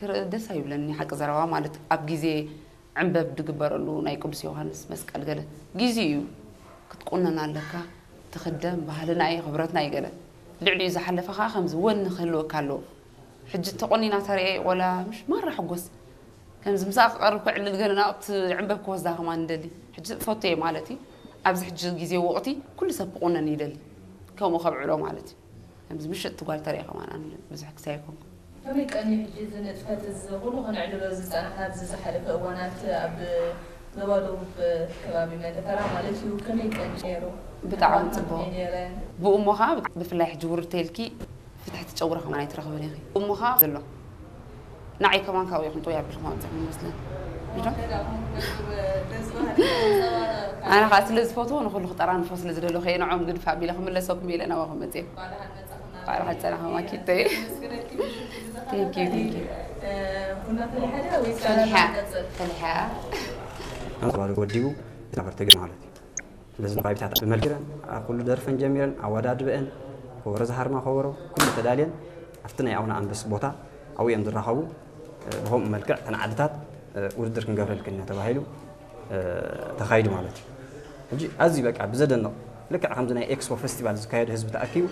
ክርኢ ደስ ኣይብለኒ ሓቂ ዘረባ ማለት ኣብ ግዜ ዕንበብ ድግበረሉ ናይ ቅዱስ ዮሃንስ መስቀል ገለ ግዜ እዩ ክትቁነን ኣለካ ትኽደም ባህልና እዩ ክብረትና እዩ ገለ ልዕሊኡ ዝሓለፈ ከዓ ከምዚ ወኒ ክህልወካ ኣለዎ ሕጂ ተቆኒና ተርእየ ቆላ ምሽ ማራ ሕጎስ ከምዚ ምሳኣ ክቐርብ ክዕልል ገለ ናብቲ ዕንበብ ክወስዳ ከማን ንደሊ ሕጂ ፈቶ እየ ማለት እዩ ኣብዚ ሕጂ ግዜ ወቕቲ ኩሉ ሰብ ክቁነን ይደሊ ከምኡ ከብዕሎ ማለት እዩ ከምዚ ምሽጥ ትጓል ተርእየ ከማን ኣነ ብዙሕ ክሳይ ኣይኮንኩ ከመይ ቀኒ ሕጂ እዚ ንጥፈት እዚ ኩሉ ከነዕልሎ ዝፀናሕና ኣብዚ ዝሓለፈ እዋናት ኣብ ዞባ ደቡብ ከባቢ መንደፈራ ማለት እዩ ከመይ ቀኒ ነይሩ? ብጣዕሚ ፅቡቅ ብኡ እሞ ከዓ ብፍላይ ሕጂ ውርድ ተይልኪ ፍትሒ ትጨውረ ከማን ኣይትረኽብን ኢኺ እሞ ከዓ ዘሎ ንዓይ ከማን ካብኡ ይኹን ጥውይ ኣቢልኩም ኣምፅኹም ይመስለን ኣነ ከዓ ስለ ዝፈትዎ ንኩሉ ክጠራንፎ ስለ ዝደለኹ እየ ንዖም ግድፍ ኣቢለ ክምለሰኩም ኢለ ናባኹም መፅየ ባዕልኻ ዝፀናኸ ማኪተይ Thank you, thank you. ፈሊሓ ፈሊሓ ኣንባሪ ወዲቡ ዝነበረ ትግርኛ ማለት እዩ። ስለዚ ንባይታት ብመልክረን ኣብ ኩሉ ደርፈን ጀሚረን ኣወዳድበአን ከበሮ ዝሃርማ ከበሮ ኩሉ ተዳልየን ኣብቲ ናይ ኣቡነ ኣንበስ ቦታ ኣብኡ እዮም ዝራኸቡ። ብኸምኡ መልክዕ እተን ዓድታት ውድድር ክንገብረልክን ኢና ተባሂሉ ተኻይዱ ማለት እዩ። ሕጂ ኣዝዩ በቃ ብዘደንቕ ልክዕ ከምዚ ናይ ኤክስፖ ፈስቲቫል ዝካየድ ህዝቢ ተኣኪቡ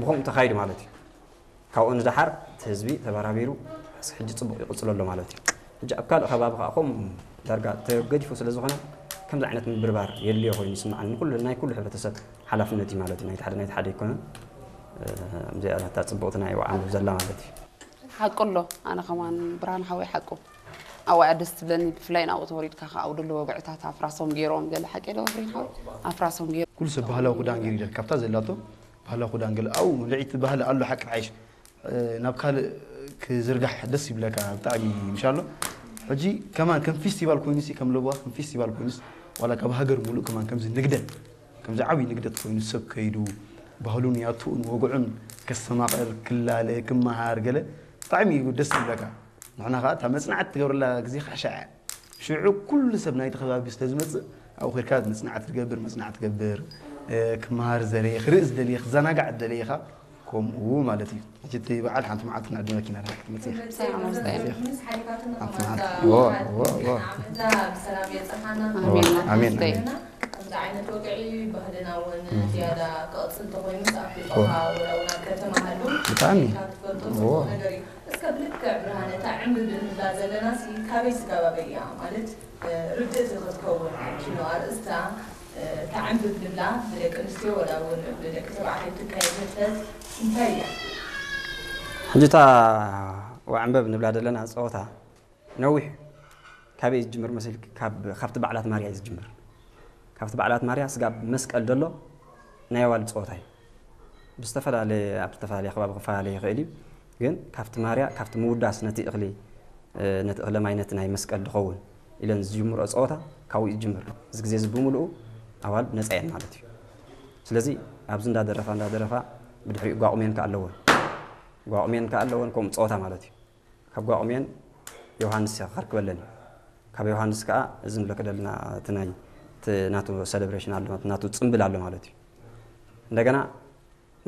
ብኸምኡ ተኻይዱ ማለት እዩ። ካብኡ ንደሓር እቲ ህዝቢ ተበራቢሩ ሕጂ ፅቡቕ ይቕፅሎ ኣሎ ማለት እዩ። ሕጂ ኣብ ካልእ ከባቢ ከዓ ከምኡ ዳርጋ ተገዲፉ ስለ ዝኾነ ከምዚ ዓይነት ምብርባር የድልዮ ኮይኑ ይስምዓኒ። ንኩሉ ናይ ኩሉ ሕብረተሰብ ሓላፍነት እዩ ማለት እዩ። ናይቲ ሓደ ናይቲ ሓደ ኣይኮነን። እዚኣ እታ ፅብቕቲ ናይ ወዓንዱ ዘላ ማለት እዩ። ሓቁ ኣሎ ኣነ ከማን ብርሃን ሓወይ ሓቁ ኣዋያ ደስ ትብለኒ ብፍላይ ናብኡ ተወሪድካ ከዓ ኣብኡ ደሎ ወግዕታት ኣፍራሶም ገይሮም ገለ ሓቂ ዶ ብሬን ሓወይ ኣፍራሶም ገይሮም ኩሉ ሰብ ባህላዊ ክዳን ገይሩ ይደል ካብታ ዘላቶ ባህላዊ ክዳን ገለ ኣብኡ ምልዒት ባህሊ ኣሎ ሓቂ ሓይሽ ናብ ካልእ ክዝርጋሕ ደስ ይብለካ ብጣዕሚ ምሻሎ ሕጂ ከማን ከም ፌስቲቫል ኮይኑሲ ከም ለብዋ ከም ፌስቲቫል ኮይኑስ ዋላ ካብ ሃገር ሙሉእ ከማን ከምዚ ንግደት ከምዚ ዓብዪ ንግደት ኮይኑ ሰብ ከይዱ ባህሉን ያቱኡን ወግዑን ከስተማቐር ክላለ ክመሃር ገለ ብጣዕሚ እዩ ደስ ይብለካ ንሕና ከዓ እታ መፅናዕቲ ትገብረላ ግዜ ካሻ እያ ሽዑ ኩሉ ሰብ ናይቲ ከባቢ ስለ ዝመፅእ ኣብኡ ከድካ መፅናዕቲ ትገብር መፅናዕቲ ትገብር ክመሃር ዝደለየ ክርኢ ዝደለየ ክዘናጋዕ ዝደለየ ኢኻ ከምኡ ማለት እዩ ሕጂ እቲ በዓል ሓንቲ መዓልቲ ንዕድመኪ ኢና ርሓ ክትመፅእ ኢኻ ሓንቲ መዓልቲ ዎ ዎ ዎ ኣሜን ኣሜን ከምዚ ዓይነት ወግዒ ባህልና እውን ዝያዳ ክቕፅል እንተኮይኑስ ኣብ ገጠርካ ወላ እውን ኣብ ከተማ ሃሉ ብጣዕሚ ኢልካ ትፈልጦ ጽቡቕ ነገር እዩ። እስከ ብልክዕ ብርሃነ እታ ዕምብብ እንብላ ዘለናሲ ካበይ ስጋባበይ እያ ማለት ርድእቲ ክትከውን ሽኖ ኣርእስታ እታ ዕምብብ ንብላ ብደቂ ኣንስትዮ ወላ እውን ብደቂ ተባዕትዮ እትካየድ ንጥፈት እንታይ እያ? ሕጂ እታ ወዕምበብ ንብላ ዘለና ፀወታ ነዊሕ ካበይ ዝጅምር መሲልኪ? ካብ ካብቲ በዓላት ማርያ እዩ ዝጅምር። ካብቲ በዓላት ማርያ ስጋብ መስቀል ዘሎ ናይ ኣዋልድ ፀወታ እዩ። ብዝተፈላለየ ኣብ ዝተፈላለየ ከባቢ ክፈላለ ይኽእል እዩ። ግን ካብቲ ማርያ ካብቲ ምውዳስ ነቲ እኽሊ ነቲ እኽለ ማይ ነቲ ናይ መስቀል ዝኸውን ኢለን ዝጅምርኦ ፀወታ ካብኡ ይጅምር። እዚ ግዜ እዚ ብምልኡ ኣዋልድ ነፃ እየን ማለት እዩ። ስለዚ ኣብዚ እንዳደረፋ እንዳደረፋ ብድሕሪኡ ጓቑሜን ከ ኣለወን ጓቑሜን ከ ኣለወን ከምኡ ፀወታ ማለት እዩ። ካብ ጓቑሜን ዮሃንስ እያ ክኸርክበለን እዩ። ካብ ዮሃንስ ከዓ እዚ ንብለኪ ደለና እቲ ናይ እቲ ናቱ ሰለብሬሽን ኣሎ ናቱ ፅምብል ኣሎ ማለት እዩ። እንደገና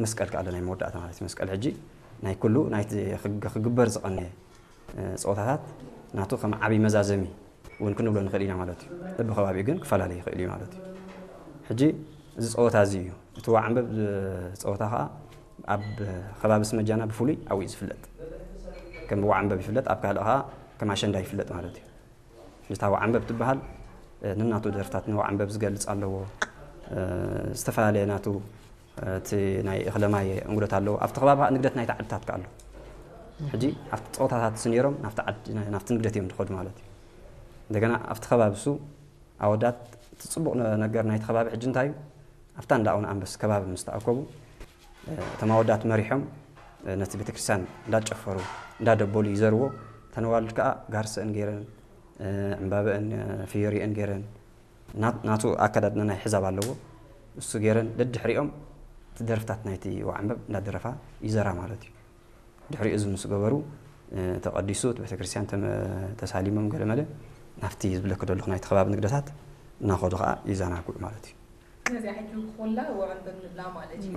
መስቀል ከዓ ኣሎ ናይ መወዳእታ ማለት እዩ። መስቀል ሕጂ ናይ ኩሉ ናይቲ ክግ- ክግበር ዝቐነየ እ፣ ፀወታታት ናቱ ከም ዓብዪ መዛዘሚ እውን ክንብሎ ንኽእል ኢና ማለት እዩ። በብከባቢኡ ግን ክፈላለ ይኽእል እዩ ማለት እዩ። ሕጂ እዚ ፀወታ እዚ እዩ እቲ ዋዕንበብ እ፣ ፀወታ ከዓ ኣብ ከባቢ ስመጃና ብፍሉይ ኣብኡ እዩ ዝፍለጥ። ከም ዋዕንበብ ይፍለጥ፣ ኣብ ካልእ ከዓ ከም ኣሸንዳ ይፍለጥ ማለት እዩ። ሕጂ እታ ዋዕንበብ ትበሃል ነናቱ ደርፍታት ንዋዕንበብ ዝገልፅ ኣለዎ። ዝተፈላለየ ናቱ እቲ ናይ እኽለ ማይ እንጉደት ኣለዎ። ኣብቲ ከባቢ ከዓ ንግደት ናይቲ ዓድታት ከዓ ኣሎ። ሕጂ ኣብቲ ፀወታታት እሱ ነይሮም ናብቲ ዓዲ ናብቲ ንግደት እዮም ዝኸዱ ማለት እዩ። እንደገና ኣብቲ ከባቢ እሱ ኣወዳት እቲ ፅቡቕ ነገር ናይቲ ከባቢ ሕጂ እንታይ እዩ ኣብታ እንዳ ኣቡነ ኣንበስ ከባቢ ምስ ተኣከቡ እቶም ኣወዳት መሪሖም ነቲ ቤተክርስትያን እንዳጨፈሩ እንዳደበሉ ይዘርዎ እተን ኣዋልድ ከዓ ጋርሰአን ገይረን ዕምባበአን ፍዮሪአን ገይረን ናቱ ኣከዳድና ናይ ሕዛብ ኣለዎ እሱ ገይረን ደድሕሪኦም እቲ ደርፍታት ናይቲ ዋዕንበብ እንዳደረፋ ይዘራ ማለት እዩ ድሕሪኡ እዚ ምስ ገበሩ ተቐዲሱ እቲ ቤተክርስትያን ተሳሊሞም ገለመለ ናብቲ ዝብለክ ደለኹ ናይቲ ከባቢ ንግደታት እናኸዱ ከዓ ይዘናግዑ ማለት እዩ ነዚኣ ሕጂ ኩላ ወዕንበብ ንብላ ማለት እዩ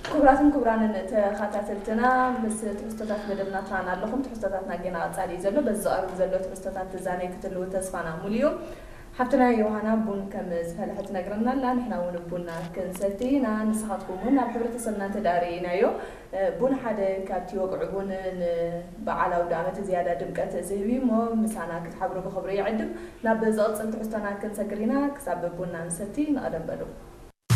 ክቡራትን ክቡራንን ተኸታተልትና፣ ምስ ትሕዝቶታት መደብና ትራን ኣለኹም። ትሕዝቶታትና ጌና ቀጻሊ እዩ ዘሎ። በዚ ዝቐርብ ዘሎ ትሕዝቶታት ትዛነይ ክትህልው ተስፋና ሙሉ እዩ። ሓፍትና ዮሃና ቡን ከም ዝፈለሐት ትነግረና ኣላ። ንሕና እውን ቡና ክንሰቲ ኢና። ንስኻትኩም እውን ናብ ሕብረተሰብና እንተ ደኣ ርኢናዮ፣ ቡን ሓደ ካብቲ ወግዒ ቡን ንበዓል ኣውደ ዓመት ዝያዳ ድምቀት ዝህብ እዩ እሞ፣ ምሳና ክትሓብሩ ብኽብሪ ይዕድም። ናብ ዝቕጽል ትሕዝቶና ክንሰግር ኢና። ክሳብ ቡና ንሰቲ ንቐደም በሉ።